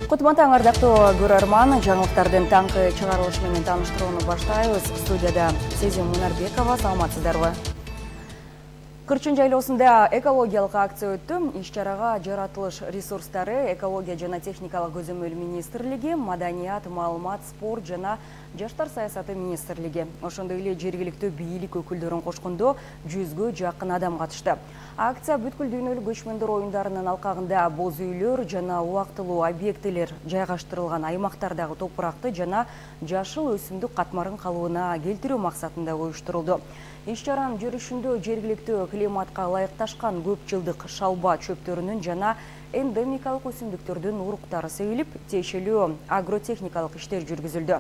Кутман таң ардактуу көрөрман, жаңылыктардын таңкы чыгарылышы менен тааныштырууну баштайбыз. Студияда Сезим Мунарбекова, саламатсыздарбы? Кырчын жайлоосунда экологиялык акция өттү. Иш-чарага жаратылыш ресурстары, экология жана техникалык көзөмөл министрлиги, маданият, маалымат, спорт жана жаштар саясаты министрлиги, ошондой эле жергиликтүү бийлик өкүлдөрүн кошкондо 100гө жакын адам катышты. Акция бүткүл дүйнөлүк көчмөндөр оюндарынын алкагында боз үйлөр жана убактылуу объектилер жайгаштырылган аймактардагы топуракты жана жашыл өсүмдүк катмарын калыбына келтирүү максатында уюштурулду. Иш-чаранын жүрүшүндө жергиликтүү климатка ылайыкташкан көп жылдык шалба чөптөрүнүн жана эндемикалык өсүмдүктөрдүн уруктары себилип, тиешелүү агротехникалык иштер жүргүзүлдү.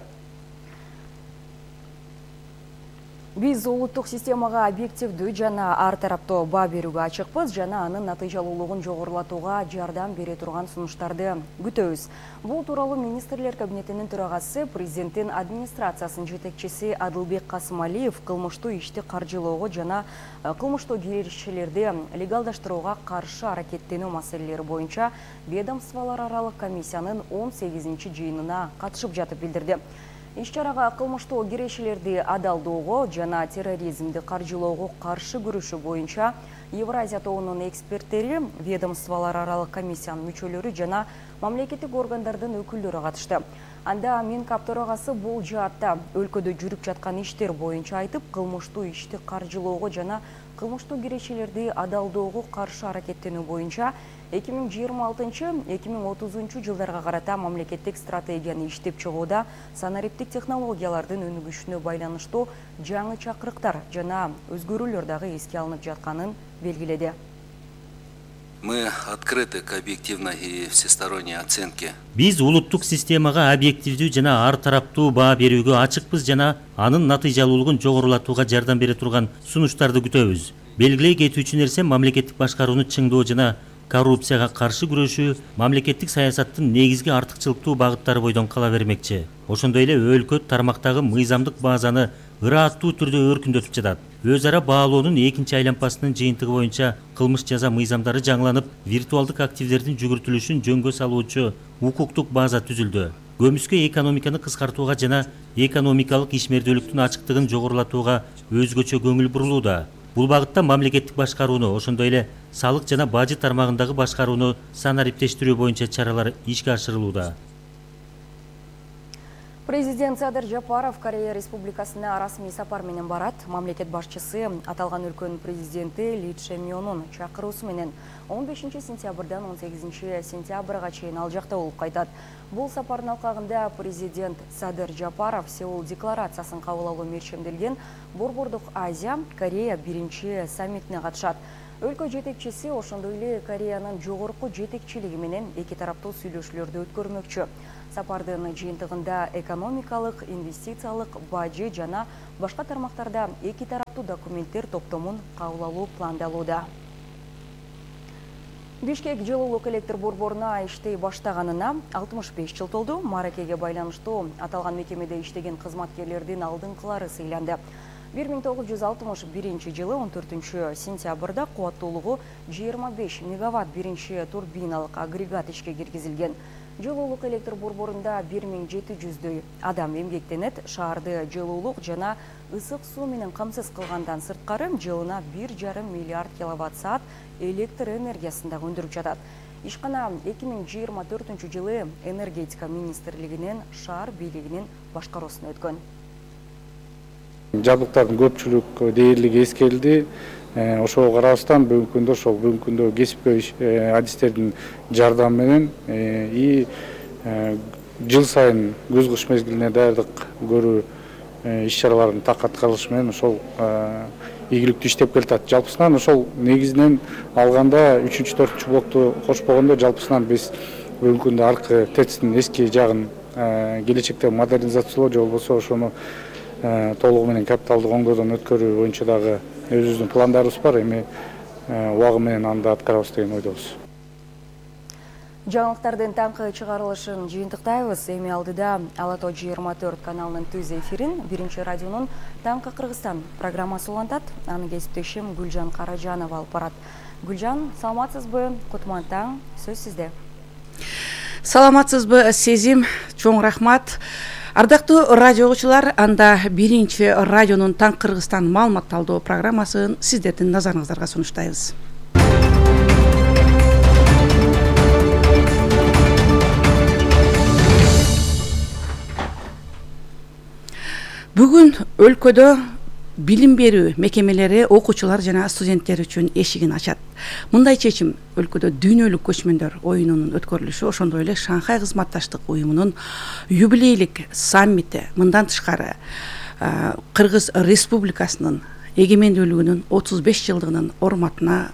Биз улуттук системага объективдүү жана ар тараптуу баа берүүгө ачыкпыз жана анын натыйжалуулугун жогорулатууга жардам бере турган сунуштарды күтөбүз. Бул тууралуу министрлер кабинетинин төрагасы, президенттин администрациясынын жетекчиси Адылбек Касымалиев кылмыштуу ишти каржылоого жана кылмыштуу киришчилерди легалдаштырууга каршы аракеттенүү маселелери боюнча ведомстволор аралык комиссиянын 18-жыйынына катышып жатып билдирди. Иш-чарага кылмыштуу киришчилерди адалдоого жана терроризмди каржылоого каршы күрөшүү боюнча Евразия тобунун эксперттери, ведомстволор аралык комиссиянын мүчөлөрү жана мамлекеттик органдардын өкүлдөрү катышты. Анда Минкап төрагасы бул жаатта өлкөдө жүрүп жаткан иштер боюнча айтып, кылмыштуу ишти каржылоого жана кылмыштуу киришчилерди адалдоого каршы аракеттенүү боюнча 2026-2030 жылдарга карата мамлекеттик стратегияны иштеп чыгууда санариптик технологиялардын өнүгүшүнө байланыштуу жаңы чакырыктар жана өзгөрүүлөр дагы эске алынып жатканын белгиледи. Мы открыты к объективной и всесторонней оценке. Биз улуттук системага объективдүү жана ар тараптуу баа берүүгө ачыкпыз жана анын натыйжалуулугун жогорулатууга жардам бере турган сунуштарды күтөбүз. Белгилей кетүүчү нерсе мамлекеттик башкарууну чыңдоо жана коррупцияга каршы күрөшүү мамлекеттик саясаттын негизги артыкчылыктуу багыттары бойдон кала бермекчи. Ошондой эле өлкө тармактагы мыйзамдык базаны ырааттуу түрдө өркүндөтүп жатат. Өз ара баалоонун экинчи айланпасынын жыйынтыгы боюнча кылмыш жаза мыйзамдары жаңыланып, виртуалдык активдердин жүгүртүлүшүн жөнгө салуучу укуктук база түзүлдү. Көмүскө экономиканы кыскартууга жана экономикалык ишмердүүлүктүн ачыктыгын жогорулатууга өзгөчө көңүл бурулууда. Бул багытта мамлекеттик башкарууну, ошондой эле салык жана бажы тармагындагы башкарууну санариптештирүү боюнча чаралар ишке ашырылууда. Президент Садыр Жапаров Корея Республикасына расмий сапар менен барат. Мамлекет башчысы аталган өлкөнүн президенти Ли Чжэ-мёнун чакыруусу менен 15 сентябрдан 18 сентябрга чейин ал жакта болуп кайтат. Бул сапардын алкагында президент Садыр Жапаров Сеул декларациясын кабыл алуу мерчемделген Борбордук Азия Корея биринчи саммитине катышат. Өлкө жетекчиси ошондой эле Кореянын жогорку жетекчилиги менен эки тараптуу сүйлөшүүлөрдү өткөрмөкчү. Сапардын жыйынтыгында экономикалык, инвестициялык, бажы жана башка тармактарда эки тараптуу документтер топтомун кабыл алуу пландалууда. Бишкек жылуулук электр борборуна иштей баштаганына 65 жыл толду. Мааракеге байланыштуу аталган мекемеде иштеген кызматкерлердин алдыңкылары сыйланды. 1961 жылы 14 сентябрда кубаттуулугу 25 мегаватт биринчи турбиналык агрегат ишке киргизилген. Жылуулук электр борборунда 1700дөй адам эмгектенет. Шаарды жылуулук жана ысык суу менен камсыз кылгандан сырткары жылына 1,5 миллиард киловатт-саат электр энергиясын дагы өндүрүп жатат. Ишкана 2024 жылы энергетика министрлигинин шаар бийлигинин башкаруусуна өткөн. Жабдыктардын көпчүлүк дээрлиги эскерилди. Ошого карабастан бүгүнкү күндө кесипкөй адистердин жардамы менен жыл сайын күз-кыш мезгилине даярдык көрүү иш-чараларын так аткарылышы менен ошол ийгиликтүү иштеп келатат. Жалпысынан ошол негизинен алганда 3-4 блокту кошпогондо жалпысынан биз бүгүнкү күндө аркы ТЭЦтин эски жагын келечекте модернизациялоо же болбосо ошону толугу менен капиталдык оңдоодон өткөрүү боюнча дагы өзүбүздүн пландарыбыз бар. Эми убагы менен анда аткарабыз деген ойдобуз. Жаңылыктардын таңкы чыгарылышын жыйынтыктайбыз. Эми алдыда Ала Тоо 24 каналынын түз эфирин Биринчи радионун Таңкы Кыргызстан программасы улантат. Аны кесиптешим Гүлжан Каражанова алып барат. Гүлжан, саламатсызбы? Кутман таң, сөз сизде. Саламатсызбы, Сезим? Чоң рахмат. Ардактуу радио угуучулар, анда биринчи радионун Таң Кыргызстан маалымат талдоо программасын сиздердин назарыңыздарга сунуштайбыз. Бүгүн өлкөдө билим берүү мекемелери окуучулар жана студенттер үчүн эшигин ачат. Мындай чечим өлкөдө дүйнөлүк көчмөндөр оюнунун өткөрүлүшү, ошондой эле Шанхай кызматташтык уюмунун юбилейлик саммити, мындан тышкары Кыргыз Республикасынын эгемендүүлүгүнүн 35 жылдыгынын урматына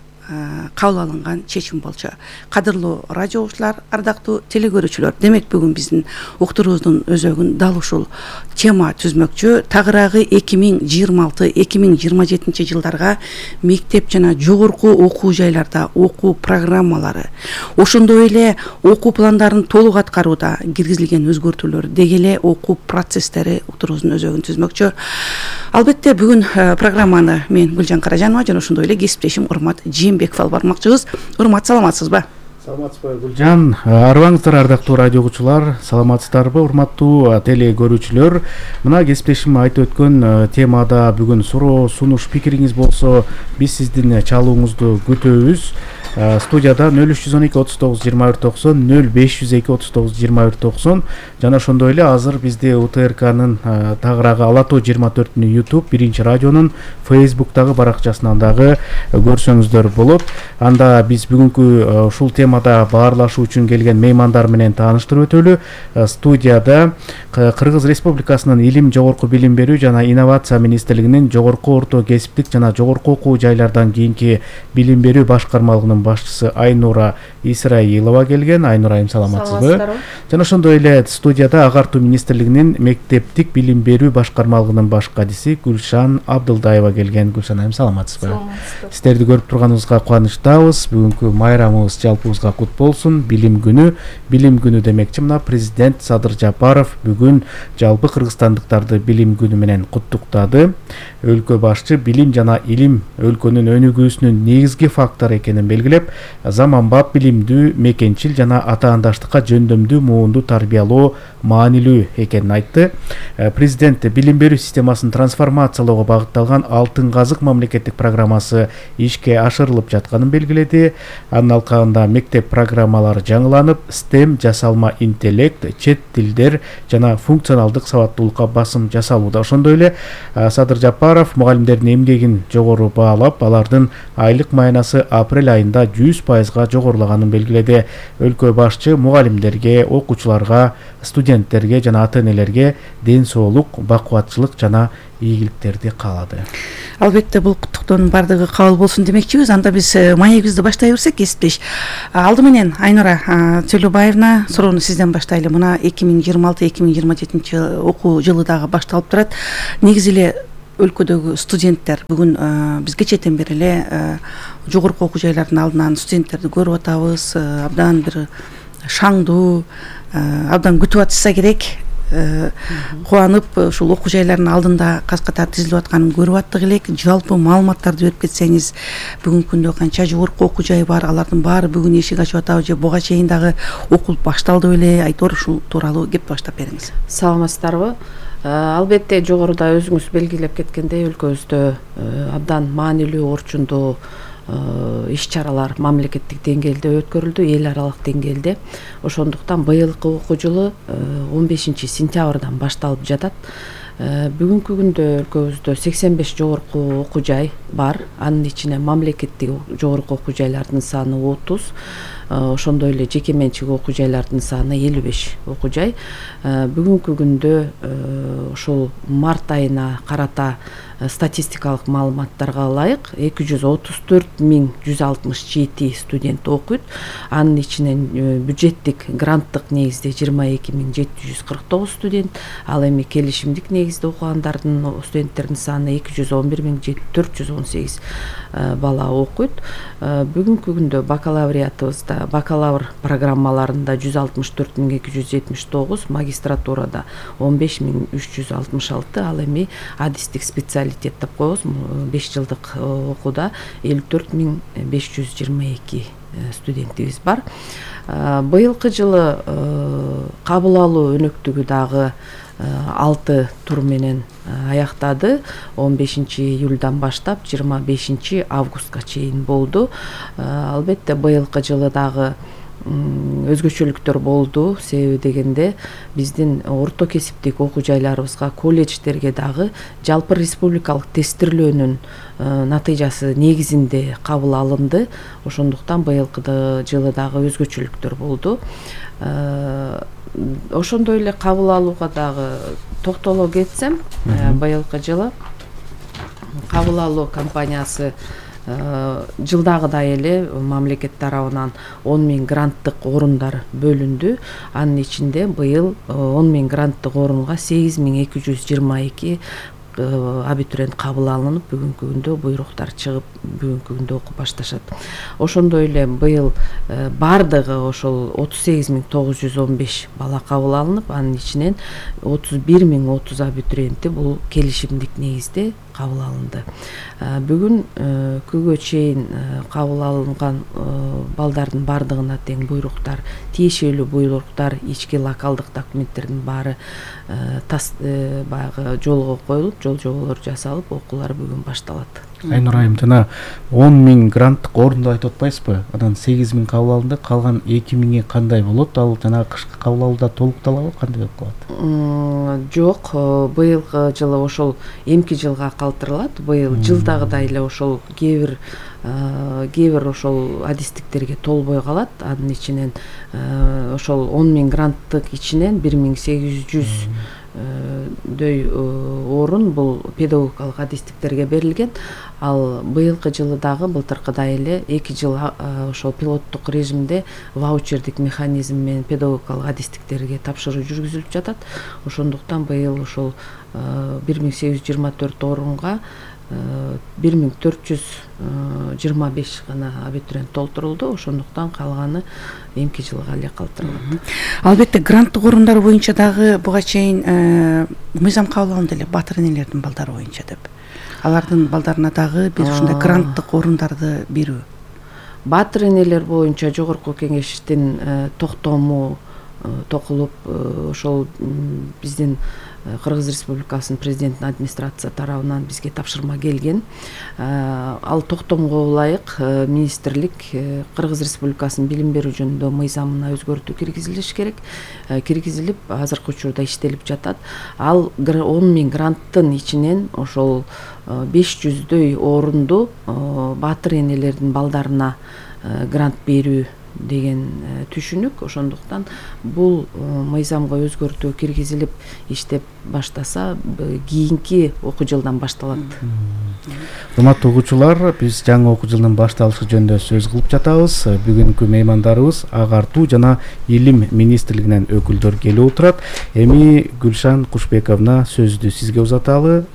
кабыл алынган чечим болчу. Кадырлуу радио угуучулар, ардактуу телекөрүүчүлөр, демек бүгүн биздин уктуруубуздун өзөгүн дал ушул тема түзмөкчү. Тагыраагы 2026-2027 жылдарга мектеп жана жогорку окуу жайларда окуу программалары, ошондой эле окуу пландарын толук аткарууда киргизилген өзгөртүүлөр, деги эле окуу процесстери уктуруубуздун өзөгүн түзмөкчү. Албетте бүгүн программаны мен Гүлжан Каражанова жана ошондой эле кесиптешим Урмат Жээнбеков алып бармакчыбыз. Урмат, саламатсызбы? Саламатсызбы, Гүлжан. Арыбаңыздар, ардактуу радио угуучулар, саламатсыздарбы, урматтуу теле көрүүчүлөр? Мына кесиптешим айтып өткөн темада бүгүн суроо, сунуш, пикириңиз болсо биз сиздин чалууңузду күтөбүз. Студияда 0312 39 21 90, 0502 39 21 90 жана ошондой эле азыр бизди УТРКнын тагыраагы Ала Тоо 24-нү YouTube, биринчи радионун Facebook'тагы баракчасынан дагы көрсөңүздөр болот. Анда биз бүгүнкү ушул темада баарлашуу үчүн келген меймандар менен тааныштырып өтөлү. Студияда Кыргыз Республикасынын Илим, жогорку билим берүү жана инновация министрлигинин жогорку орто кесиптик жана жогорку окуу жайлардан кийинки билим берүү башкармалыгынын башчысы Айнура Исраилова келген. Айнура, саламатсызбы? Жана ошондой эле студияда Агартуу министрлигинин мектептик билим берүү башкармалыгынын баш кадиси Гүлшан Абдылдаева келген. Гүлшан, саламатсызбы? Сиздерди көрүп турганыбызга кубанычтабыз. Бүгүнкү майрамыбыз жалпыбызга кут болсун. Билим күнү. Билим күнү демекчи, мына президент Садыр Жапаров бүгүн жалпы кыргызстандыктарды билим күнү менен куттуктады. Өлкө башчы билим жана илим өлкөнүн өнүгүүсүнүн негизги фактору экенин белгилеп, заманбап билимдүү, мекенчил жана атаандаштыкка жөндөмдүү муунду тарбиялоо маанилүү экенин айтты. Президент билим берүү системасын трансформациялоого багытталган Алтын казык мамлекеттик программасы ишке ашырылып жатканын белгиледи. Анын алкагында мектеп программалары жаңыланып, STEM, жасалма интеллект, чет тилдер жана функционалдык сабаттуулукка басым жасалууда. Ошондой эле Садыр Жапаров мугалимдердин эмгегин жогору баалап, алардын айлык маянасы апрель айында 100%га жогорулаганын белгиледи. Өлкө башчы мугалимдерге, окуучуларга, студенттерге жана ата-энелерге ден соолук, бакубатчылык жана ийгиликтерди каалады. Албетте бул куттуктоонун бардыгы кабыл болсун демекчибиз. Анда биз маегибизди баштай берсек, кесиптеш. Алды менен Айнура Төлөбаевна, суроону сизден баштайлы. Мына 2026-2027 окуу жылы дагы башталып турат. Негизи эле өлкөдөгү студенттер бүгүн биз кечээден бери эле жогорку окуу жайлардын алдынан студенттерди көрүп атабыз. Абдан бир шаңдуу, абдан күтүп атышса керек. Кубанып ушул окуу жайлардын алдында каз-катар тизилип атканын көрүп аттык элек. Жалпы маалыматтарды берип кетсеңиз, бүгүнкү күндө канча жогорку окуу жай бар, алардын баары бүгүн эшик ачып атабы же буга чейин дагы окуу башталды беле? Айтор ушул тууралуу кеп баштап бериңиз. Саламатсыздарбы? Албетте жогоруда өзүңүз белгилеп кеткендей, өлкөбүздө абдан маанилүү, орчундуу иш-чаралар мамлекеттик деңгээлде өткөрүлдү, эл аралык деңгээлде. Ошондуктан быйылкы окуу жылы 15 сентябрдан башталып жатат. Бүгүнкү күндө өлкөбүздө 85 жогорку окуу жай бар. Анын ичине мамлекеттик жогорку окуу жайлардын саны 30, ошондой эле жеке менчик окуу жайлардын саны 55 окуу жай. Бүгүнкү күндө ошол март айына карата статистикалык маалыматтарга ылайык 234.167 студент окуйт. Анын ичинен бюджеттик гранттык негизде 22.749 студент, ал эми келишимдик негизде окугандардын студенттердин саны 211.418 бала окуйт. Бүгүнкү күндө бакалавриатыбызда, бакалавр программаларында 164.279, магистратурада 15.366, ал эми адистик специалитет деп коебуз, 5 жылдык окууда 54.522 студентибиз бар. Быйылкы жылы кабыл алуу өнөктүгү дагы 6 тур менен аяктады. 15 июльдан баштап 25 августка чейин болду. Албетте быйылкы жылы дагы өзгөчөлүктөр болду. Себеби дегенде биздин орто кесиптик окуу жайларыбызга, колледждерге дагы жалпы республикалык тестирлөөнүн натыйжасы негизинде кабыл алынды. Ошондуктан быйылкы жылы дагы өзгөчөлүктөр болду. Ошондой эле кабыл алууга дагы токтоло кетсем, быйылкы жылы кабыл алуу компаниясы жылдагыдай эле мамлекет тарабынан 10 000 гранттык орундар бөлүндү. Анын ичинде быйыл 10 000 гранттык орунга 8222 абитуриент кабыл алынып, бүгүнкү күндө буйруктар чыгып, бүгүнкү күндө окуп башташат. Ошондой эле быйыл бардыгы ошол 38 915 бала кабыл алынып, анын ичинен 31 030 абитуриенти бул келишимдик негизде кабыл алынды. Бүгүн күнгө чейин кабыл алынган балдардын бардыгына тең буйруктар, тиешелүү буйруктар, ички локалдык документтердин баары баягы жолго коюлуп, жол жоболор жасалып, окуулар бүгүн башталат. Айнура айым, жана 10 000 гранттык орунду айтып атпайсызбы? Анан 8 000 кабыл алынды, калган 2 000 кандай болот? Ал жана кышкы кабыл алууда толукталабы, кандай болуп калат? Жок, быйылкы жылы ошол эмки жылга калтырылат. Быйыл жылдагыдай эле ошол кээ бир ошол адистиктерге толбой калат. Анын ичинен ошол 10 000 гранттык ичинен 1800 дөй орун бул педагогикалык адистиктерге берилген. Ал быйылкы жылы дагы былтыркыдай эле 2 жыл ошол пилоттук режимде ваучердик механизм менен педагогикалык адистиктерге тапшыруу жүргүзүлүп жатат. Ошондуктан быйыл ошол 1824 орунга 1425 гана абитуриент толтурулду. Ошондуктан калганы эмки жылга эле калтырылат. Албетте гранттык орундар боюнча дагы буга чейин мыйзам кабыл алынды эле, батыр энелердин балдары боюнча деп. Алардын балдарына дагы бир ушундай гранттык орундарды берүү. Батыр энелер боюнча жогорку кеңештин токтому токулуп, ошол биздин Кыргыз Республикасынын президентинин администрация тарабынан бизге тапшырма келген. Ал токтомго ылайык министрлик Кыргыз Республикасынын билим берүү жөнүндө мыйзамына өзгөртүү киргизилиш керек. Киргизилип, азыркы учурда иштелип жатат. Ал 10 000 гранттын ичинен ошол 500дөй орунду батыр энелердин балдарына грант берүү деген түшүнүк. Ошондуктан бул мыйзамга өзгөртүү киргизилип иштеп баштаса, кийинки окуу жылдан башталат. Урматтуу окуучулар, биз жаңы окуу жылдын башталышы жөнүндө сөз кылып жатабыз. Бүгүнкү меймандарыбыз Агартуу жана Илим министрлигинен өкүлдөр келип отурат. Эми Гүлшан Кушбековна сөздү сизге узаталы.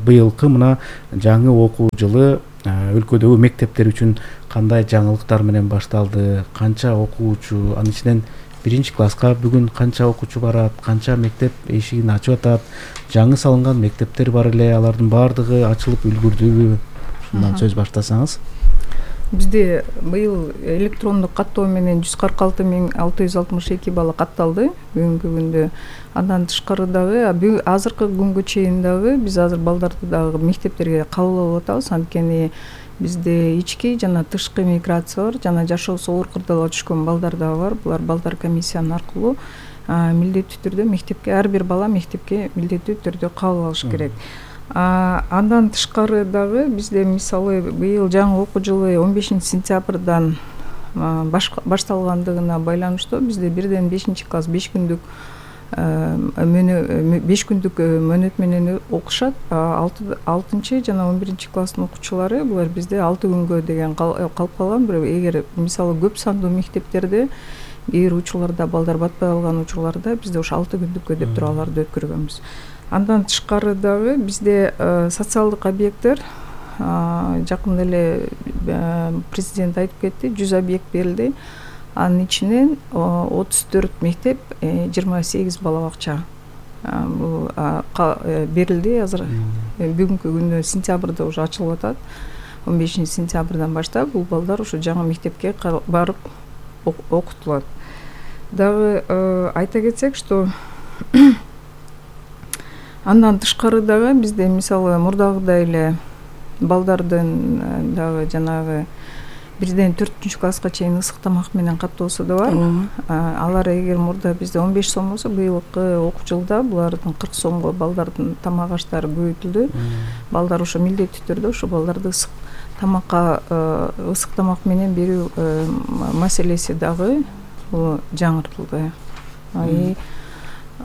Быйылкы мына жаңы окуу жылы өлкөдөгү мектептер үчүн кандай жаңылыктар менен башталды, канча окуучу, анын ичинен 1-класска бүгүн канча окуучу барат, канча мектеп эшигин ачып атат, жаңы салынган мектептер бар эле, алардын баардыгы ачылып үлгүрдүбү? Ушундан сөз баштасаңыз. Бизде быйыл электрондук каттоо менен 146 662 бала катталды бүгүнкү күндө. Андан тышкары дагы азыркы күнгө чейин дагы биз азыр балдарды дагы мектептерге кабыл алып атабыз. Анткени бизде ички жана тышкы миграция бар, жана жашоосу оор кырдаалга түшкөн балдар дагы бар. Булар балдар комиссиянын аркылуу милдеттүү түрдө мектепке, ар бир бала мектепке милдеттүү түрдө кабыл алыш керек. Андан тышкары дагы бизде мисалы быйыл жаңы окуу жылы 15 сентябрдан башталгандыгына байланыштуу бизде бирден 5-класс 5 күндүк мөөнөт менен окушат. 6 жана 11 класстын окуучулары булар бизде 6 күнгө деген калып калган. Бирок эгер мисалы көп сандуу мектептерде бир учурларда балдар батпай калган учурларда бизде ошо 6 күндүккө деп туруп аларды өткөргөнбүз. Андан тышкары дагы бизде социалдык объекттер жакында эле президент айтып кетти, 100 объект берилди. Анын ичинен 34 мектеп, 28 бала бакча берилди. Азыр бүгүнкү күндө сентябрда уже ачылып атат. 15 сентябрдан баштап бул балдар ушу жаңы мектепке барып окутулат. Дагы айта кетсек, что андан тышкары дагы бизде мисалы мурдагыдай эле балдардын дагы жанагы 1-4 класска чейин ысык тамак менен каттоосу да бар. Алар эгер мурда бизде 15 сом болсо, быйылкы окуу жылда булардын 40 сомго балдардын тамак аштары көбөйтүлдү. Балдар ошо милдеттүү түрдө ошо балдарды ысык тамак менен берүү маселеси дагы жаңыртылды.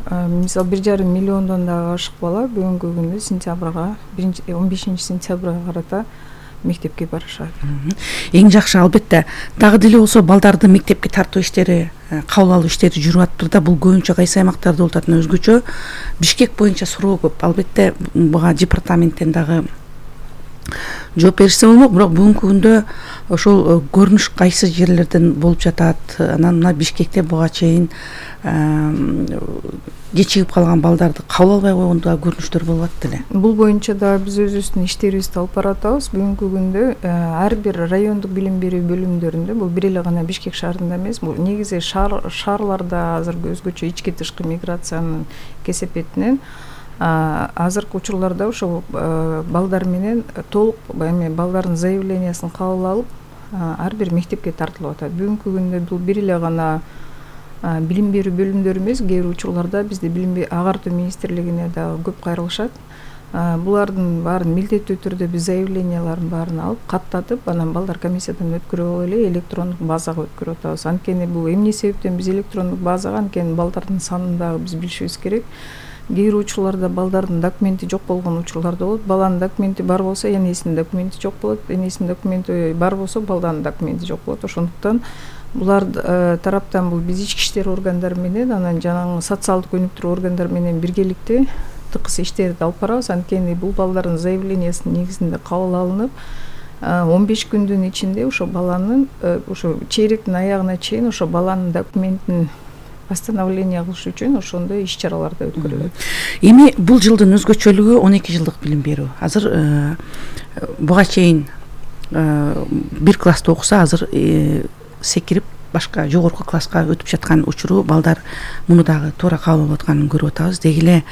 Мисалы 1,5 миллиондон дагы ашык бала бүгүнкү күндө сентябрга 15-сентябрга карата мектепке барышат. Эң жакшы албетте дагы деле болсо балдарды мектепке тартуу иштери, кабыл алуу иштери жүрүп атыптыр да. Бул көбүнчө кайсы аймактарда болуп атат, өзгөчө Бишкек боюнча суроо көп. Албетте буга департаменттен дагы жооп беришсе болмок, бирок бүгүнкү күндө ошол көрүнүш кайсы жерлерден болуп жатат. Анан мына Бишкекте буга чейин кечигип калган балдарды кабыл албай койгон да көрүнүштөр болуп атты эле. Бул боюнча да биз өзүбүздүн иштерибизди алып баратабыз. Бүгүнкү күндө ар бир райондук билим берүү бөлүмдөрүндө, бул бир эле гана Бишкек шаарында эмес, бул негизи шаарларда азыр өзгөчө ички тышкы миграциянын кесепетинен азыркы учурларда ошо балдар менен толук балдардын заявлениясын кабыл алып ар бир мектепке тартылып атат. Бүгүнкү күндө бул бир эле гана билим берүү бөлүмдөрү эмес, кээ бир учурларда бизде агартуу министрлигине дагы көп кайрылышат. Булардын баарын милдеттүү түрдө биз заявленияларын баарын алып каттатып, анан балдар комиссиядан өткөрүп эле электрондук базага өткөрүп атабыз. Анткени бул эмне себептен биз электрондук базага, анткени балдардын санын дагы биз билишибиз керек. Кээ бир учурларда балдардын документи жок болгон учурлар да болот. Баланын документи бар болсо, энесинин документи жок болот. Энесинин документи бар болсо, балданын документи жок болот. Ошондуктан булар тараптан бул биз ички иштер органдары менен, анан жанагы социалдык өнүктүрүү органдары менен биргеликте тыкыз иштерди алып барабыз. Анткени бул балдардын заявлениясынын негизинде кабыл алынып, 15 күндүн ичинде ошо баланын ошо чейректин аягына чейин ошо баланын документин восстановление кылыш үчүн ошондой иш-чаралар да өткөрүлөт. Эми бул жылдын өзгөчөлүгү 12 жылдык билим берүү. Азыр буга чейин бир класста окуса, азыр секирип башка жогорку класска өтүп жаткан учуру балдар муну дагы туура кабыл алып атканын көрүп атабыз. Деги эле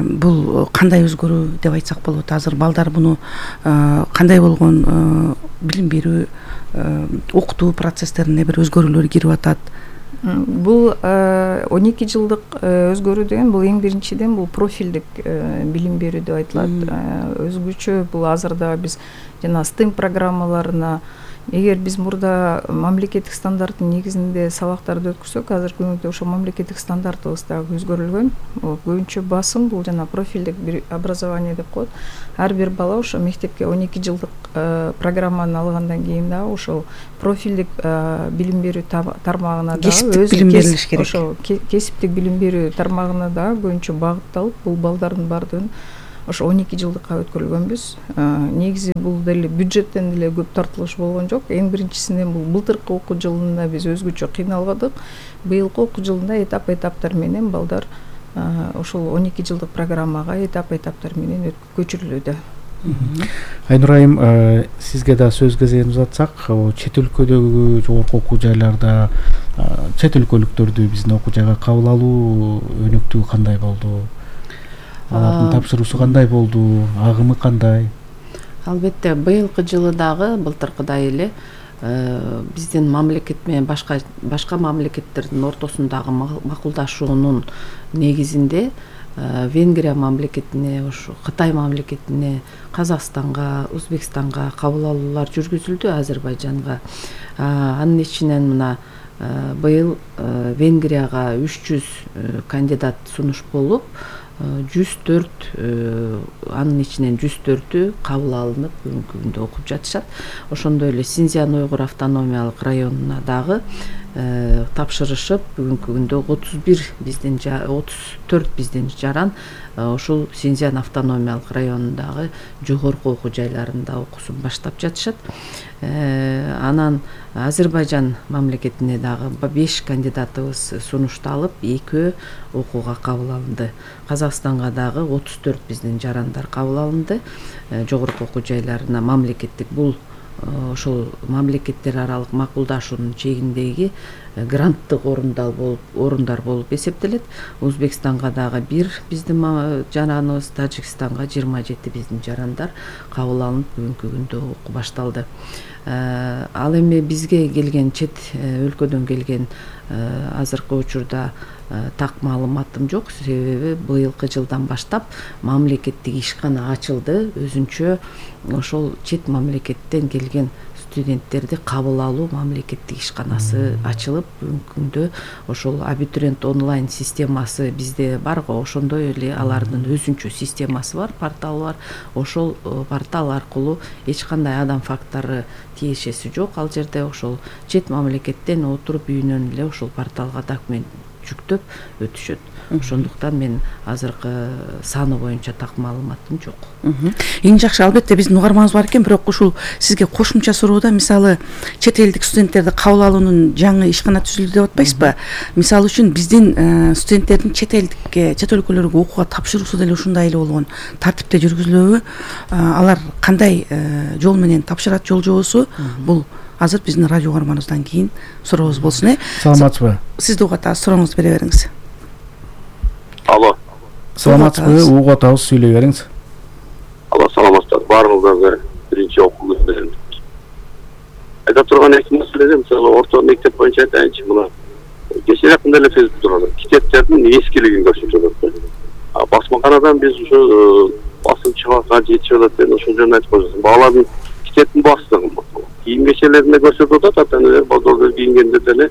бул кандай өзгөрүү деп айтсак болот? Азыр балдар муну кандай болгон билим берүү окутуу процесстерине бир өзгөрүүлөр кирип атат? Бул 12 жылдык өзгөрүү деген бул эң биринчиден бул профилдик билим берүү деп айтылат. Өзгөчө бул азырда биз жана STEM программаларына, эгер биз мурда мамлекеттик стандарттын негизинде сабактарды өткөрсөк, азыркы күндө ошо мамлекеттик стандартыбыз дагы өзгөрүлгөн. Көбүнчө басым бул жана профилдик образование деп коет. Ар бир бала ошо мектепке 12 жылдык программаны алгандан кийин дагы ошол профилдик билим берүү тармагына дагы билим берилиш керек. Ошо кесиптик билим берүү тармагына дагы көбүнчө багытталып, бул балдардын бардыгын ошо 12 жылдыкка өткөрүлгөнбүз. Негизи бул деле бюджеттен деле көп тартылыш болгон жок. Эң биринчисинен бул былтыркы окуу жылында биз өзгөчө кыйналбадык. Быйылкы окуу жылында этап-этаптар менен балдар ошол 12 жылдык программага этап-этаптар менен көчүрүлүүдө. Айнура айым, сизге да сөз кезегин узатсак, чет өлкөдөгү жогорку окуу жайларда чет өлкөлүктөрдү биздин окуу жайга кабыл алуу өнүктүгү кандай болду? Алардын тапшыруусу кандай болду? Агымы кандай? Албетте, быйылкы жылы дагы былтыркыдай эле биздин мамлекет менен башка мамлекеттердин ортосундагы макулдашуунун негизинде Венгрия мамлекетине, ошо Кытай мамлекетине, Казакстанга, Өзбекстанга кабыл алуулар жүргүзүлдү, Азербайжанга. Анын ичинен мына быйыл Венгрияга 300 кандидат сунуш болуп, 104 анын ичинен 104-ü кабыл алынып бүгүнкү күндө окуп жатышат. Ошондой эле Синьцзян Уйгур автономиялык районуна дагы тапшырышып бүгүнкү күндө 34 биздин жаран ушул Синьцзян автономиялык районундагы жогорку окуу жайларында окуусун баштап жатышат. Анан Азербайжан мамлекетине дагы 5 кандидатыбыз сунушталып, 2 окууга кабыл алынды. Казакстанга дагы 34 биздин жарандар кабыл алынды. Жогорку окуу жайларына мамлекеттик бул ошол мамлекеттер аралык макулдашуунун чегиндеги гранттык орундар болуп эсептелет. Өзбекстанга дагы 1 биздин жараныбыз, Тажикстанга 27 биздин жарандар кабыл алынып, бүгүнкү күндө окуу башталды. Ал эми бизге келген чет өлкөдөн келген азыркы учурда так маалыматым жок, себеби быйылкы жылдан баштап мамлекеттик ишкана ачылды. Өзүнчө ошол чет мамлекеттен келген студенттерди кабыл алуу мамлекеттик ишканасы ачылып, бүгүнкү күндө ошол абитуриент онлайн системасы бизде бар го, ошондой эле алардын өзүнчө системасы бар, порталы бар. Ошол портал аркылуу эч кандай адам фактору тиешеси жок. Ал жерде ошол чет мамлекеттен отуруп үйүнөн эле ошол порталга документ жүктөп өтүшөт. Ошондуктан мен азыркы саны боюнча так маалыматым жок. Эң жакшы, албетте биздин угарманыбыз бар экен, бирок ушул сизге кошумча суроодо, мисалы чет элдик студенттерди кабыл алуунун жаңы ишкана түзүлдү деп атпайсызбы? Мисалы үчүн биздин студенттердин чет элдикке, чет өлкөлөргө окууга тапшыруусу деле ушундай эле болгон тартипте жүргүзүлөбү? Алар кандай жол менен тапшырат, жол жобосу? Бул азыр биздин радио угарманыбыздан кийин сурообуз болсун. Саламатсызбы? Сизди угуп атабыз, сурооңузду бере бериңиз. Алло. Саламатсызбы? Угуп атабыз, сүйлөй бериңиз. Алло, саламатсыздар. Баарыңыздарга биринчи окуу күндөрүн. Айта турган эки маселе, мисалы орто мектеп боюнча айтайынчы, мына кечээ жакында эле Фейсбуктан китептердин эскилигин көрсөтүп атат. Басмаканадан биз ушу басымчылыкка жетишип атат деп ошол жөнүндө айтып коесуз. Балалардын китептин баастыгы, кийим кечелерине көрсөтүп атат, ата-аналар базарда кийингенде деле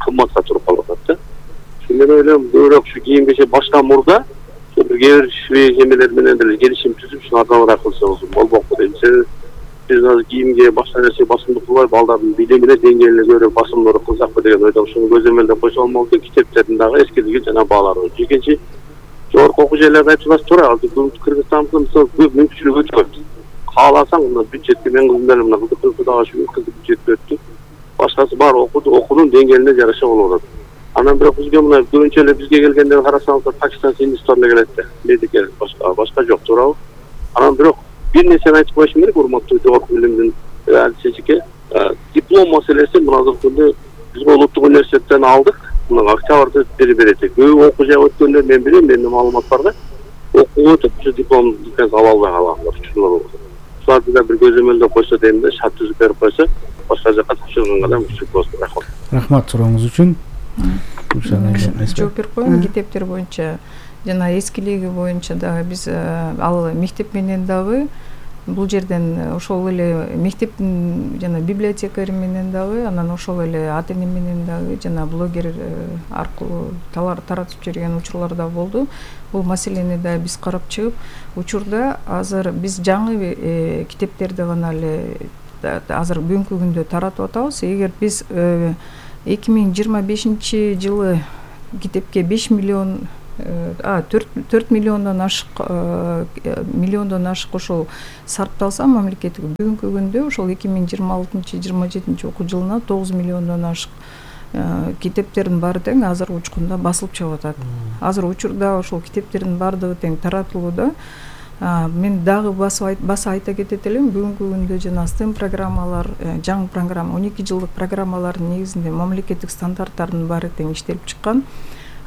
кымбатка туруп калып атат да. Мен ойлойм, көбүрөөк ушу кийим кече башка мурда кээ бир эмелер менен деле келишим түзүп, ушу ардабыраак кылсаңыз болмок дейм. Биз азыр кийимге башка нерсе басымдык кылбай, балдардын билимине деңгээлине көбүрөөк басымдуулук кылсакпы деген ойдон ушуну көзөмөлдөп койсо болмок дейм. Китептердин дагы эскилиги жана баалары. Экинчи, жогорку окуу жайларда айтылат туура, азыр Кыргызстанда мисалы көп мүмкүнчүлүк өтө көп. Кааласаң, мына бюджетти мен кызым менен мына кызды дагы кызды бюджетке өттү. Башкасы бар окуунун деңгээлине жараша болуп атат. Анан бирок бизге мына көбүнчө эле бизге келгенде карасаңыздар Пакистан, Хиндистандан келет да. Медикер башка жок, туурабы? Анан бирок бир нерсени айтып коюшум керек, урматтуу жогорку билимдин алчечике. Диплом маселеси мына азыркы күндө бизге улуттук университеттен алдык. Мына октябрда берет. Көп окуу жай өткөндө мен билем, менде маалымат бар да. Окуу өтүп, ушу дипломду ала албай калгандар. Шуларды да бир көзөмөлдөп койсо дейм да, шарт түзүп берип койсо, башка жака тапшырганга да мүмкүнчүлүк болсун. Рахмат сурооңуз үчүн. Жооп берип коеюн, китептер боюнча жана эскилиги боюнча дагы биз ал мектеп менен дагы бул жерден ошол эле мектептин жана библиотекари менен дагы, анан ошол эле ата эне менен дагы жана блогер аркылуу таратып жүргөн учурлар да болду. Бул маселени да биз карап чыгып, учурда азыр биз жаңы китептерди гана эле азыр бүгүнкү күндө таратып атабыз. Эгер биз 2025 жылы китепке 5 миллион 4 миллиондон ашык ошол сарпталса мамлекеттик, бүгүнкү күндө ошол 2026-27 окуу жылына 9 миллиондон ашык китептердин баары тең азыр учкунда басылып чыгып атат. Азыр учурда ошол китептердин баардыгы тең таратылууда. Мен дагы баса айта кетет элем, бүгүнкү күндө жана STEM программалар, жаңы программа 12 жылдык программалардын негизинде мамлекеттик стандарттардын баары тең иштелип чыккан.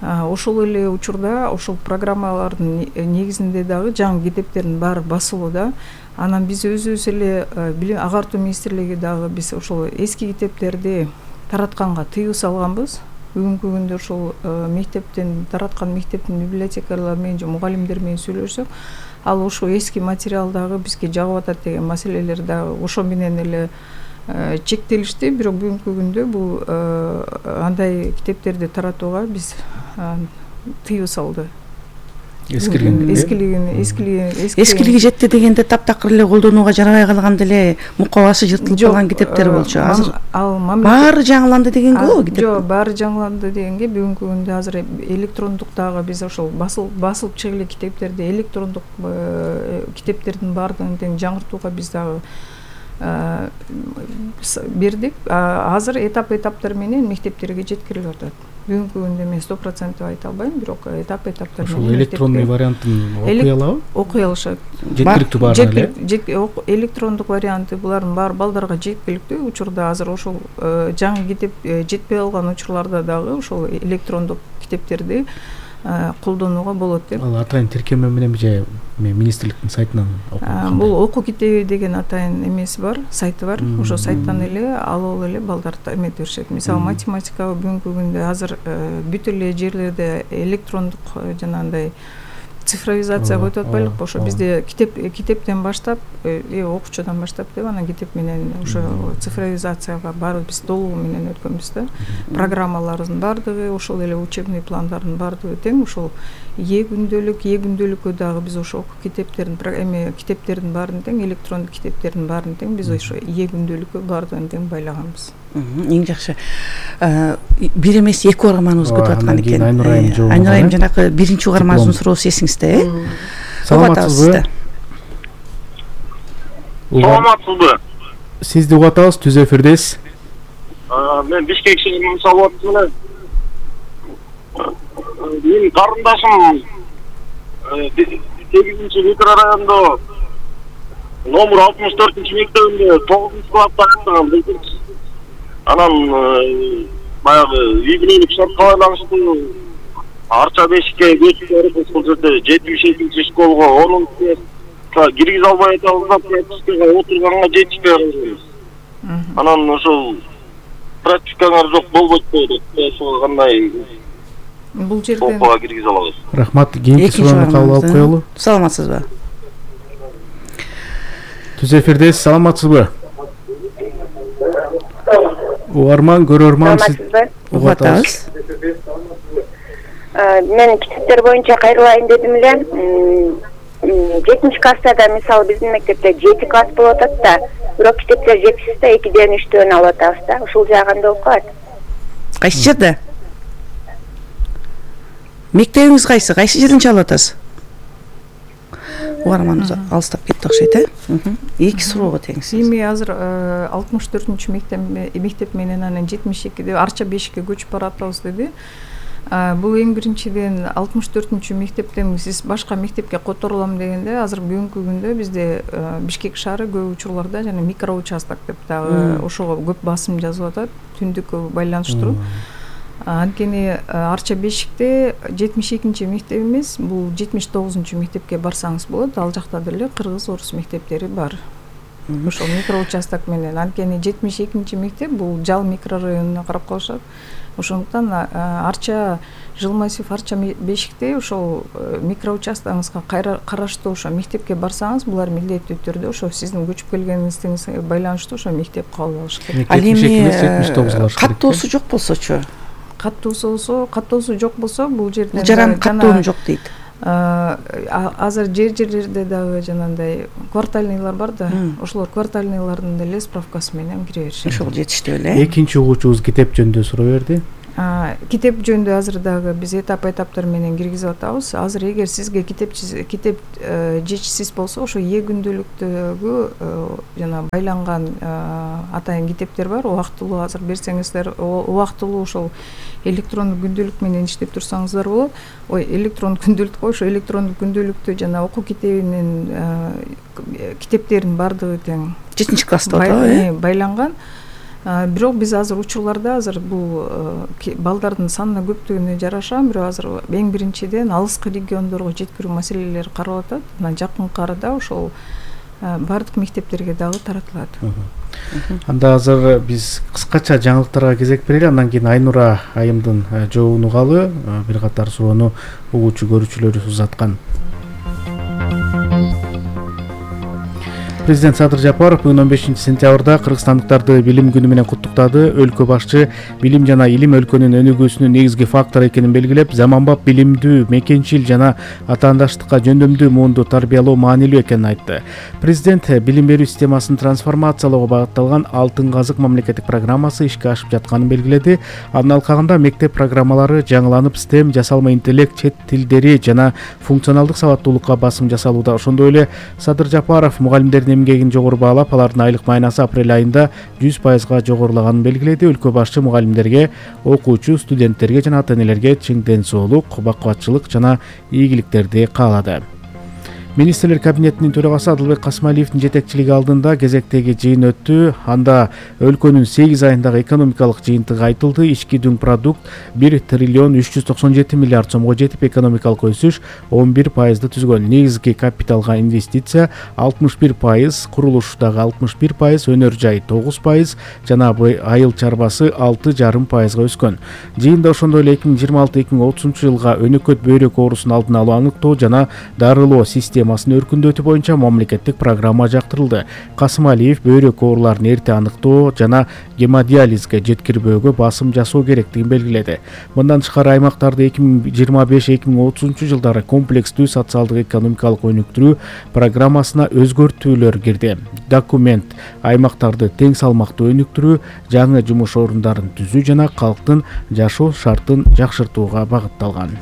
Ошол эле учурда ошол программалардын негизинде дагы жаңы китептердин баары басылууда. Анан биз өзүбүз эле билим агартуу министрлиги дагы биз ошол эски китептерди таратканга тыюу салганбыз. Бүгүнкү күндө ошол мектептен тараткан мектептин библиотекалары менен же мугалимдер менен сүйлөшсөк, ал ошо эски материал дагы бизге жагып атат деген маселелер дагы ошо менен эле чектелишти. Бирок бүгүнкү күндө бул андай китептерди таратууга биз тыюу салды. эскилиги жетти дегенде таптакыр эле колдонууга жарабай калган деле мукабасы жыртылып калган китептер болчу. Азыр баары жаңыланды дегенге болобу китеп? Жок, баары жаңыланды дегенге бүгүнкү күндө азыр электрондуктагы биз ошол басылып чыга эле китептерди электрондук китептердин баардыгын тең жаңыртууга биз дагы бердик. Азыр этаптар менен мектептерге жеткирилип атат. Бүгүнкү күндө мен 100% айта албайм, бирок этаптар менен. Ошол электрондук вариантын окуй алабы? Окуй алышат. Жеткиликтүү баары эле. Электрондук варианты булардын баары балдарга жеткиликтүү. Учурда азыр ошол жаңы китеп жетпей калган учурларда дагы ошол электрондук китептерди колдонууга болот деп. Ал атайын тиркеме менен же министрликтин сайтынан окуп? Бул окуу китеби деген атайын эмеси бар, сайты бар. Ошо сайттан эле алып эле балдар эмете беришет. Мисалы математикага бүгүнкү күндө азыр бүт эле жерлерде электрондук жанагындай цифровизацияга өтүп атпайлыкпы? Ошо бизде китептен баштап, окуучудан баштап деп анан китеп менен ошо цифровизацияга баары биз толугу менен өткөнбүз да. Программалардын баардыгы, ошол эле учебный пландардын баардыгы тең ошол күндөлүккө дагы биз ошо китептердин баарын тең, электрондук китептердин баарын тең биз ошо күндөлүккө баардыгын тең байлаганбыз. Эң жакшы. Бир эмес эки угарманыбыз күтүп аткан экен. Айнура айым жанакы биринчи угарманыбыздын суроосу эсиңизде, Саламатсызбы? Саламатсызбы? Сизди угуп атабыз, түз эфирдесиз. Мен Бишкек шаарынан салып атмын. Менин карындашым 8-чи микрорайондо номер 64-чи мектебинде 9-класста окуган. Анан баягы үй-бүлөлүк шартка байланыштуу Арча бешикке көчүп барып, ошол жерде 72-чи школго 10-га киргизе албай атабыз да, практикага отурганга жетишпей калганбыз. Анан ошол практикаңар жок болбойт деп, ошого кандай бул жерден окууга киргизе алабыз? Рахмат, кийинки суроону кабыл алып коелу. Саламатсызбы? Түз эфирдесиз, саламатсызбы? Угарман, көрөрман, сиз угуп атабыз. Мен китептер боюнча кайрылайын дедим эле. 7-чи класстарда мисалы биздин мектепте 7 класс болуп атат да, бирок китептер жетишсиз да, 2-ден 3-төн алып атабыз да. Ушул жагында окуат. Кайсы жерде? Мектебиңиз кайсы? Кайсы жерден чалып атасыз? Угарманыбыз алыстап кетти окшойт, Эки суроого теңсиз. Эми азыр 64-чү мектеп менен анан 72 Арча бешикке көчүп баратабыз деди. Бул эң биринчиден 64-чү мектептен сиз башка мектепке которулам дегенде, азыр бүгүнкү күндө бизде Бишкек шаары көп учурларда жана микроучасток деп дагы ошого көп басым жазып атат, түндүккө байланыштыруу. Анткени Арча бешикте 72-чи мектеп эмес, бул 79-чу мектепке барсаңыз болот. Ал жакта деле кыргыз, орус мектептери бар. Ошол микроучасток менен. Анткени 72-чи мектеп бул Жал микрорайонуна карап калышат. Ошондуктан Арча Жылмасев Арча бешикте ошол микроучастогуңузга караштуу ошо мектепке барсаңыз, булар милдеттүү түрдө ошо сиздин көчүп келгениңизге байланыштуу ошо мектеп кабыл алыш керек. Ал эми каттоосу жок болсочу? Каттоосу жок болсо, бул жерде жаран каттоом жок дейт. Азыр жерлерде дагы жанагындай квартальныйлар бар да, ошолор квартальныйлардын деле справкасы менен кире беришет. Ошол жетиштүү эле. Экинчи угуучубуз китеп жөнүндө суроо берди. Китеп жөнүндө азыр дагы биз этаптар менен киргизип атабыз. Азыр эгер сизге китеп жетишсиз болсо, ошо күндөлүктөгү жана байланган атайын китептер бар. Убактылуу азыр берсеңиздер, убактылуу ошол электрондук күндөлүк менен иштеп турсаңыздар болот. Электрондук күндөлүк, ошо электрондук күндөлүктө жана окуу китебинин китептердин баардыгы тең 7-чи класста байланган. Бирок биз азыр учурларда азыр бул балдардын санына көптүгүнө жараша, бирок азыр эң биринчиден алыскы региондорго жеткирүү маселелери каралып атат. Анан жакынкы арада ошол бардык мектептерге дагы таратылат. Анда азыр биз кыскача жаңылыктарга кезек берели, андан кийин Айнура айымдын жообун угалы. Бир катар суроону угуучу көрүүчүлөрүбүз узаткан. Президент Садыр Жапаров бүгүн 15-сентябрда кыргызстандыктарды билим күнү менен куттуктады. Өлкө башчы билим жана илим өлкөнүн өнүгүүсүнүн негизги фактору экенин белгилеп, заманбап билимдүү, мекенчил жана атаандаштыкка жөндөмдүү муунду тарбиялоо маанилүү экенин айтты. Президент билим берүү системасын трансформациялоого багытталган Алтын казык мамлекеттик программасы ишке ашып жатканын белгиледи. Анын алкагында мектеп программалары жаңыланып, STEM, жасалма интеллект, чет тилдери жана функционалдык сабаттуулукка басым жасалууда. Ошондой эле Садыр Жапаров мугалимдердин эмгегин жогору баалап, алардын айлык майнасы апрель айында 100%га жогорулаганын белгиледи. Өлкө башчы мугалимдерге, окуучу, студенттерге жана ата-энелерге чың ден соолук, бакубатчылык жана ийгиликтерди каалады. Министрлер кабинетинин төрагасы Адылбек Касымалиевдин жетекчилиги алдында кезектеги жыйын өттү. Анда өлкөнүн 8 айындагы экономикалык жыйынтыгы айтылды. Ички дүң продукт 1 триллион 397 миллиард сомго жетип, экономикалык өсүш 11%ды түзгөн. Негизги капиталга инвестиция 61%, курулуштагы 61%, өнөр жай 9% жана айыл чарбасы 6,5%га өскөн. Жыйында ошондой эле 2026-2030 жылга өнөкөт бөйрөк оорусун алдын алуу, аныктоо жана дарылоо системасын өркүндөтүү боюнча мамлекеттик программа жактырылды. Касымалиев бөйрөк ооруларын эрте аныктоо жана гемодиализге жеткирбөөгө басым жасоо керектигин белгиледи. Мындан тышкары аймактарды 2025-2030 жылдары комплекстүү социалдык экономикалык өнүктүрүү программасына өзгөртүүлөр кирди. Документ аймактарды тең салмактуу өнүктүрүү, жаңы жумуш орундарын түзүү жана калктын жашоо шартын жакшыртууга багытталган.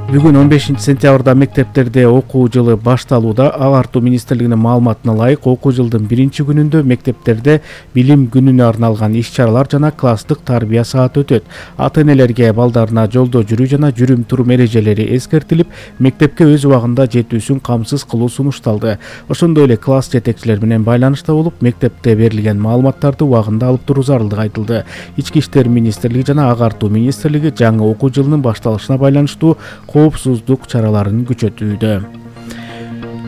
Бүгүн 15-сентябрда мектептерде окуу жылы башталууда. Агартуу министрлигинин маалыматына ылайык, окуу жылдын 1-күнүндө мектептерде билим күнүнө арналган иш-чаралар жана класстык тарбия сааты өтөт. Ата-энелерге балдарына жолдо жүрүү жана жүрүм-турум эрежелери эскертилип, мектепке өз убагында жетүүсүн камсыз кылуу сунушталды. Ошондой эле класс жетекчилер менен байланышта болуп, мектепте берилген маалыматтарды убагында алып туруу зарылдыгы айтылды. Ички иштер министрлиги жана агартуу министрлиги жаңы окуу жылынын башталышына байланыштуу коопсуздук чараларын күчөтүүдө.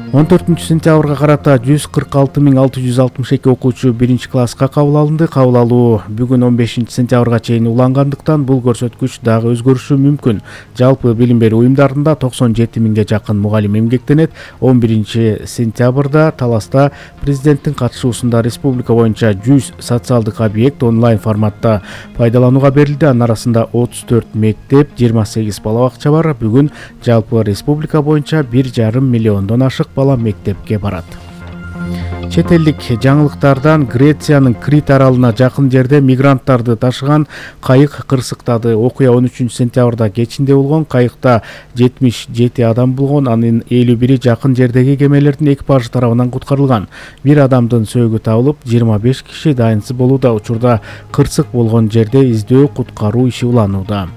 14-сентябрга карата 146.662 окуучу 1-класска кабыл алынды. Кабыл алуу бүгүн 15-сентябрга чейин улангандыктан бул көрсөткүч дагы өзгөрүшү мүмкүн. Жалпы билим берүү уюмдарында 97.000ге жакын мугалим эмгектенет. 11-сентябрда Таласта президенттин катышуусунда республика боюнча 100 социалдык объект онлайн форматта пайдаланууга берилди. Анын арасында 34 мектеп, 28 бала бакча бар. Бүгүн жалпы республика боюнча 1,5 миллиондон ашык бала мектепке барат. Чет элдик жаңылыктардан Грециянын Крит аралына жакын жерде мигранттарды ташыган кайык кырсыктады. Окуя 13-сентябрда кечинде болгон. Кайыкта 77 адам болгон. Анын 51-и жакын жердеги кемелердин экипажы тарабынан куткарылган. Бир адамдын сөөгү табылып, 25 киши дайынсыз болууда. Учурда кырсык болгон жерде издөө куткаруу иши уланууда.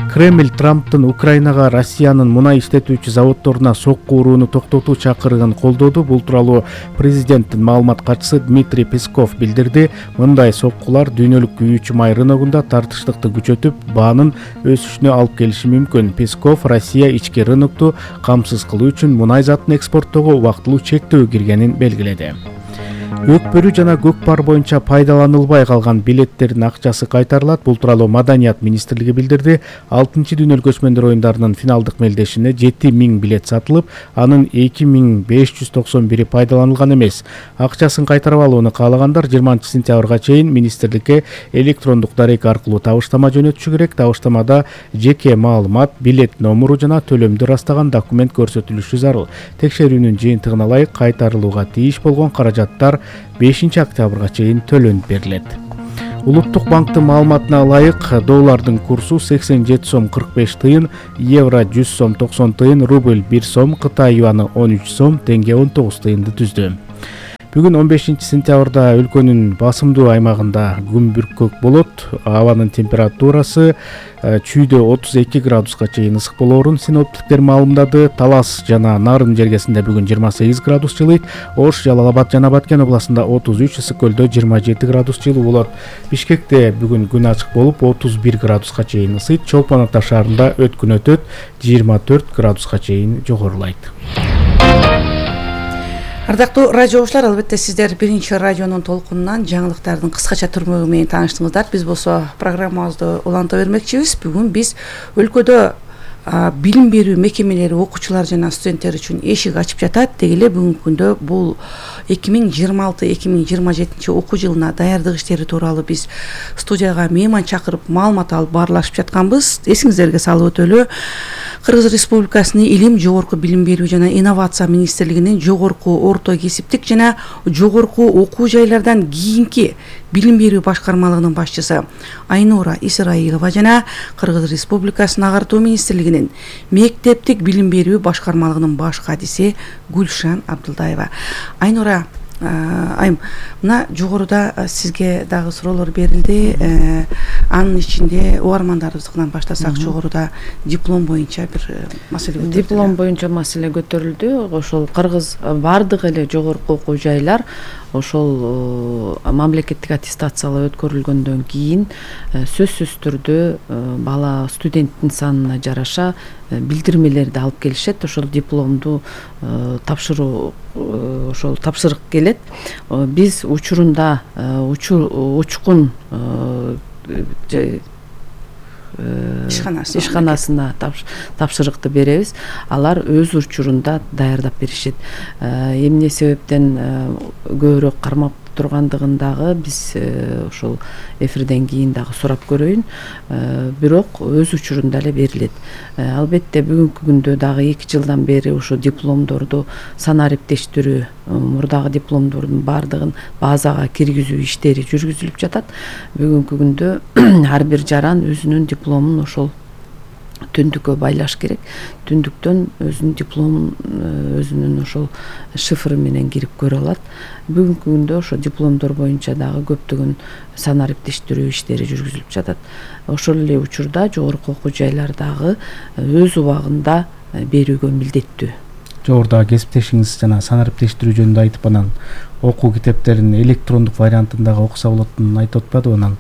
Кремль Трамптын Украинага Россиянын мунай иштетүүчү заводдоруна сокку урууну токтотуу чакырыгын колдоду. Бул тууралуу президенттин маалымат катчысы Дмитрий Песков билдирди. Мындай соккулар дүйнөлүк күйүүчү май рыногунда тартыштыкты күчөтүп, баанын өсүшүнө алып келиши мүмкүн. Песков Россия ички рынокту камсыз кылуу үчүн мунай затын экспорттоого убактылуу чектөө киргенин белгиледи. Өкпөрүү жана көкпар боюнча пайдаланылбай калган билеттердин акчасы кайтарылат. Бул тууралуу Маданият министрлиги билдирди. 6-дүйнөлүк көчмөндөр оюндарынын финалдык мелдешине 7000 билет сатылып, анын 2591 пайдаланылган эмес. Акчасын кайтарып алууну каалагандар 20-сентябрга чейин министрликке электрондук дарек аркылуу табыштама жөнөтүшү керек. Табыштамада жеке маалымат, билет номуру жана төлөмдү ырастаган документ көрсөтүлүшү зарыл. Текшерүүнүн жыйынтыгына ылайык кайтарылууга тийиш болгон каражаттар 5-октябрга чейин төлөнүп берилет. Улуттук банктын маалыматына ылайык, доллардын курсу 87 сом 45 тыйын, евро 100 сом 90 тыйын, рубль 1 сом, Кытай юаны 13 сом, теңге 19 тыйынды түздү. Бүгүн 15-сентябрда өлкөнүн басымдуу аймагында күн бүркөк болот. Абанын температурасы чүйдө 32 градуска чейин ысык болоорун синоптиктер маалымдады. Талас жана Нарын жергесинде бүгүн 28 градус жылыйт. Ош, Жалал Абад жана Баткен областында 33, Ысык көлдө 27 градус жылуу болот. Бишкекте бүгүн күн ачык болуп 31 градуска чейин ысыйт. Чолпон Ата шаарында өткүн өтөт, 24 градуска чейин жогорулайт. Ардактуу радио окуучулар, албетте сиздер биринчи радионун толкунунан жаңылыктардын кыскача түрмөгү менен тааныштыңыздар. Биз болсо программабызды уланта бермекчибиз. Бүгүн биз өлкөдө билим берүү мекемелери окуучулар жана студенттер үчүн эшик ачып жатат. Деги эле бүгүнкү күндө бул 2026-2027 окуу жылына даярдык иштери тууралуу биз студияга мейман чакырып маалымат алып баарлашып жатканбыз. Эсиңиздерге салып өтөлү, Кыргыз Республикасынын Илим, жогорку билим берүү жана инновация министрлигинин жогорку орто кесиптик жана жогорку окуу жайлардан кийинки билим берүү башкармалыгынын башчысы Айнура Исраилова жана Кыргыз Республикасынын агартуу министрлигинин мектептик билим берүү башкармалыгынын баш кадиси Гүлшан Абдылдаева. Айнура айым, мына жогоруда сизге дагы суроолор берилди. Анын ичинде угармандарыбыздан баштасак, жогоруда диплом боюнча бир маселе көтөрүлдү. Диплом боюнча маселе көтөрүлдү. Ошол Кыргыз бардык эле жогорку окуу жайлар ошол мамлекеттик аттестациялоо өткөрүлгөндөн кийин сөзсүз түрдө бала студенттин санына жараша билдирмелерди алып келишет. Ошол дипломду тапшыруу ошол тапшырык келет. Биз учурунда учкун ишканасына тапшырыкты беребиз. Алар өз учурунда даярдап беришет. Эмне себептен көбүрөөк кармап тургандыгын дагы биз ошол эфирден кийин дагы сурап көрөйүн. Бирок өз учурунда эле берилет. Албетте бүгүнкү күндө дагы 2 жылдан бери ошо дипломдорду санариптештирүү, мурдагы дипломдордун баардыгын базага киргизүү иштери жүргүзүлүп жатат. Бүгүнкү күндө ар бир жаран өзүнүн дипломун ошол түндүккө байлаш керек. Түндүктөн өзүнүн дипломун өзүнүн ошол шифры менен кирип көрө алат. Бүгүнкү күндө ошо дипломдор боюнча дагы көптөгөн санариптештирүү иштери жүргүзүлүп жатат. Ошол эле учурда жогорку окуу жайлардагы өз убагында берүүгө милдеттүү. Жогоруда кесиптешиңиз жана санариптештирүү жөнүндө айтып, анан окуу китептерин электрондук вариантындагы окуса болотун айтып атпады. Анан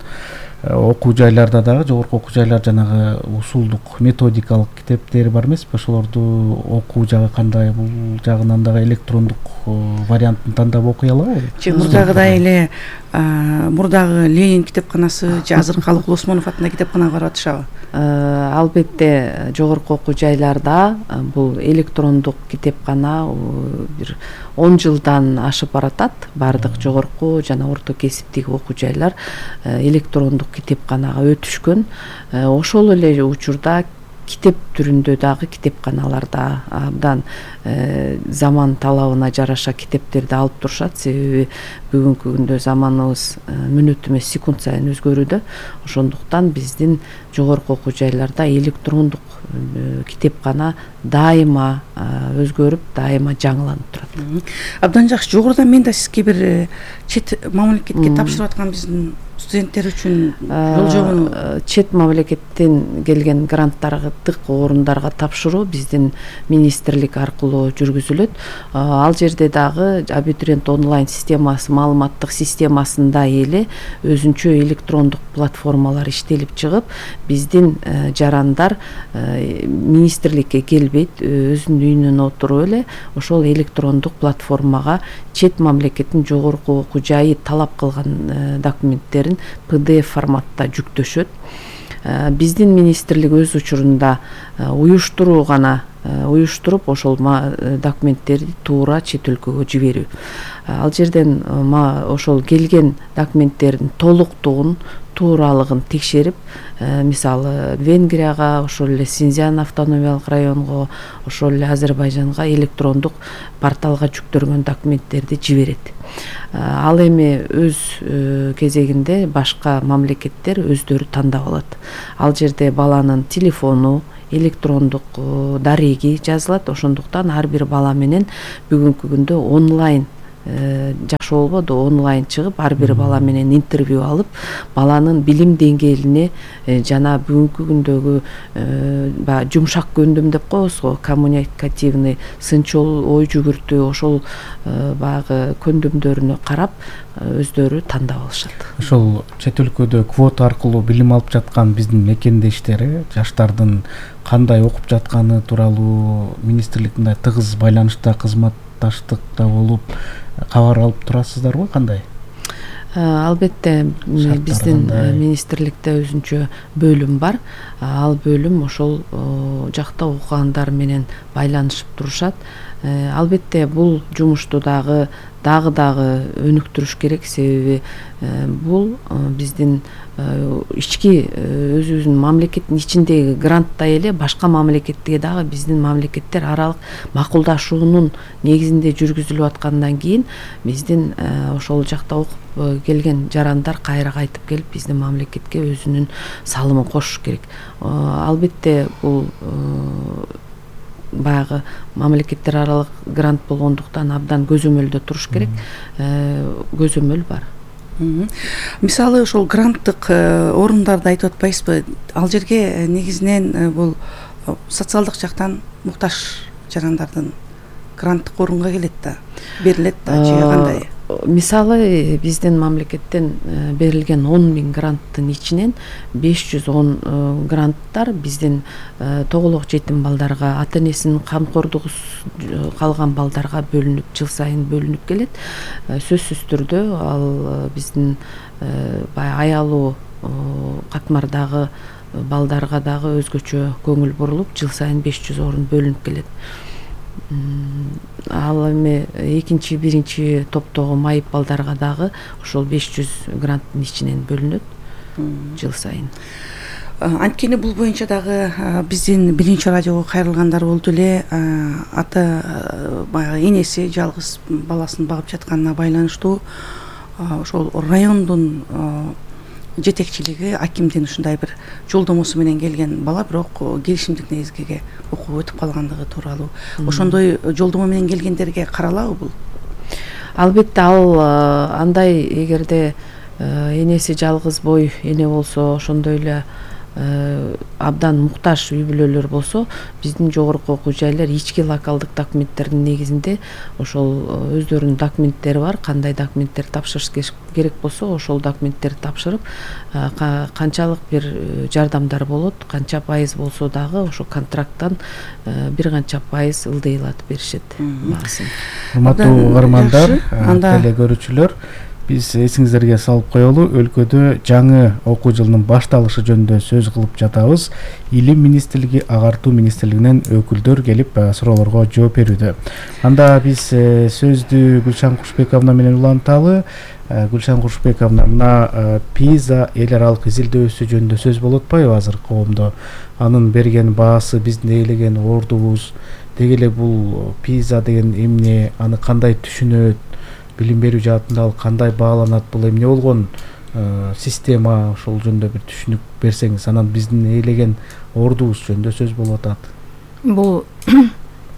окуу жайларда дагы жогорку окуу жайлар жанагы усулдук методикалык китептери бар эмеспи? Ошолорду окуу жагы кандай, бул жагынан дагы электрондук вариантын тандап окуй алабы? Мурдагыдай эле мурдагы Ленин китепканасы же азыр Калык Осмонов атындагы китепканага барып атышабы? Албетте жогорку окуу жайларда бул электрондук китепкана бир 10 жылдан ашып баратат. Бардык жогорку жана орто кесиптеги окуу жайлар электрондук китепканага өтүшкөн. Ошол эле учурда китеп түрүндө дагы китепканаларда абдан заман талабына жараша китептерди алып турушат. Себеби бүгүнкү күндө заманыбыз мүнөт эмес, секунд сайын өзгөрүүдө. Ошондуктан биздин жогорку окуу жайларда электрондук китепкана дайыма өзгөрүп, дайыма жаңыланып турат. Абдан жакшы. Жогоруда мен да сизге бир чет мамлекетке тапшырып аткан биздин студенттер үчүн жол чет мамлекеттен келген гранттардык орундарга тапшыруу биздин министрлик аркылуу жүргүзүлөт. Ал жерде дагы абитуриент онлайн системасы, маалыматтык системасында эле өзүнчө электрондук платформалар иштелип чыгып, биздин жарандар министрликке келбейт, өзүнүн үйүнөн отуруп эле ошол электрондук платформага чет мамлекеттин жогорку окуу жайы талап кылган документтерин PDF форматта жүктөшөт. Биздин министрлик өз учурунда уюштуруп ошол документтерди туура чет өлкөгө жиберүү. Ал жерден ошол келген документтердин толуктугун, тууралыгын текшерип, мисалы Венгрияга, ошол эле Синьцзян автономиялык районго, ошол эле Азербайжанга электрондук порталга жүктөлгөн документтерди жиберет. Ал эми өз кезегинде башка мамлекеттер өздөрү тандап алат. Ал жерде баланын телефону, электрондук дареги жазылат. Ошондуктан ар бир бала менен бүгүнкү күндө онлайн жакшы болбоду, онлайн чыгып, ар бир бала менен интервью алып, баланын билим деңгээлине жана бүгүнкү күндөгү жумшак көндүм деп коебуз го, коммуникативный, сынчыл ой жүгүртүү, ошол баягы көндүмдөрүнө карап өздөрү тандап алышат. Ошол чет өлкөдө квота аркылуу билим алып жаткан биздин мекендештер жаштардын кандай окуп жатканы тууралуу министрлик мындай тыгыз байланышта, кызматташтыкта болуп кабар алып турасыздарбы, кандай? Албетте биздин министрликте өзүнчө бөлүм бар. Ал бөлүм ошол жакта окугандар менен байланышып турушат. Албетте бул жумушту дагы өнүктүрүш керек, себеби бул биздин ички өзүбүздүн мамлекеттин ичиндеги гранттай эле башка мамлекетте дагы биздин мамлекеттер аралык макулдашуунун негизинде жүргүзүлүп аткандан кийин биздин ошол жакта окуп келген жарандар кайра кайтып келип биздин мамлекетке өзүнүн салымын кошуш керек. Албетте бул баягы мамлекеттер аралык грант болгондуктан абдан көзөмөлдө туруш керек. Көзөмөл бар. Мисалы ошол гранттык орундарды айтып атпайсызбы? Ал жерге негизинен бул социалдык жактан муктаж жарандардын гранттык орунга келет да, берилет да, же кандай? Мисалы биздин мамлекеттен берилген 10.000 гранттын ичинен 510 гранттар биздин тоголок жетим балдарга, ата энесинин камкордугусуз калган балдарга бөлүнүп, жыл сайын бөлүнүп келет. Сөзсүз түрдө ал биздин баягы аялуу катмардагы балдарга дагы өзгөчө көңүл бурулуп, жыл сайын 500 орун бөлүнүп келет. Ал эми экинчи, биринчи топтогу майып балдарга дагы ошол 500 гранттын ичинен бөлүнөт жыл сайын. Анткени бул боюнча дагы биздин биринчи радиого кайрылгандар болду эле. Ата баягы энеси жалгыз баласын багып жатканына байланыштуу ошол райондун жетекчилиги акимдин ушундай бир жолдомосу менен келген бала, бирок келишимдик негизге окуп өтүп калгандыгы тууралуу. Ошондой жолдомо менен келгендерге каралабы бул? Албетте ал андай, эгерде энеси жалгыз бой эне болсо, ошондой эле абдан муктаж үй бүлөлөр болсо, биздин жогорку окуу жайлар ички локалдык документтердин негизинде ошол өздөрүнүн документтери бар. Кандай документтер тапшырыш керек болсо, ошол документтерди тапшырып, канчалык бир жардамдар болот, канча пайыз болсо дагы ошо контракттан бир канча пайыз ылдыйлатып беришет баасын. Урматтуу угармандар, теле көрүүчүлөр, биз эсиңиздерге салып коелу, өлкөдө жаңы окуу жылынын башталышы жөнүндө сөз кылып жатабыз. Илим министрлиги, агартуу министрлигинен өкүлдөр келип суроолорго жооп берүүдө. Анда биз сөздү Гүлшан Кушбековна менен уланталы. Гүлшан Кушбековна, мына ПИЗа эл аралык изилдөөсү жөнүндө сөз болуп атпайбы азыр коомдо? Анын берген баасы, биздин ээлеген ордубуз, деги эле бул ПИЗа деген эмне, аны кандай түшүнөт? Билим берүү жаатында ал кандай бааланат? Бул эмне болгон система? Ошол жөнүндө бир түшүнүк берсеңиз. Анан биздин ээлеген ордубуз жөнүндө сөз болуп атат. Бул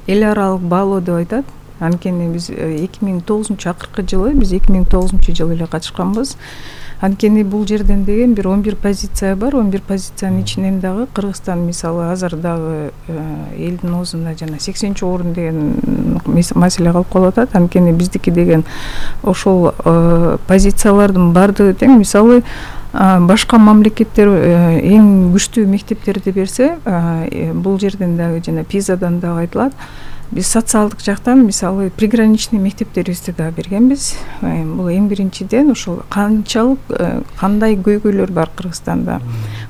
эл аралык баалоо деп айтат. Анткени биз 2009-акыркы жылы, биз 2009-жылы эле катышканбыз. Анткени бул жерден деген бир 11 позиция бар. 11 позициянын ичинен дагы Кыргызстан мисалы азыр дагы элдин оозунда жана 80-орун деген маселе калып калып атат. Анткени биздики деген ошол позициялардын бардыгы тең. Мисалы башка мамлекеттер эң күчтүү мектептерди берсе, бул жерден дагы жана ПИЗадан дагы айтылат. Биз социалдык жактан мисалы приграничный мектептерибизди да бергенбиз. Бул эң биринчиден ошол канчалык кандай көйгөйлөр бар Кыргызстанда,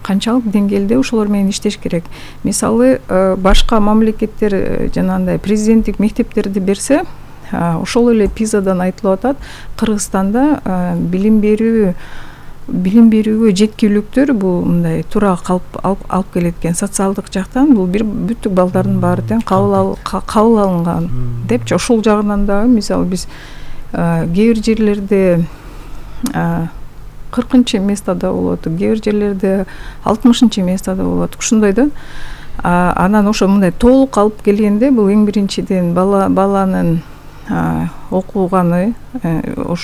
канчалык деңгээлде ошолор менен иштеш керек. Мисалы башка мамлекеттер жанагындай президенттик мектептерди берсе, ошол эле ПИЗадан айтылып атат, Кыргызстанда билим берүүгө жеткиликтөр бул мындай туура алып келет экен. Социалдык жактан бул бир бүттүк балдардын баары тең кабыл алынган депчи. Ошол жагынан дагы мисалы биз кээ бир жерлерде 40-местада болот, кээ бир жерлерде 60-местада болот. Ушундай да. Анан ошо мындай толук алып келгенде бул эң биринчиден баланын окуганы, ошо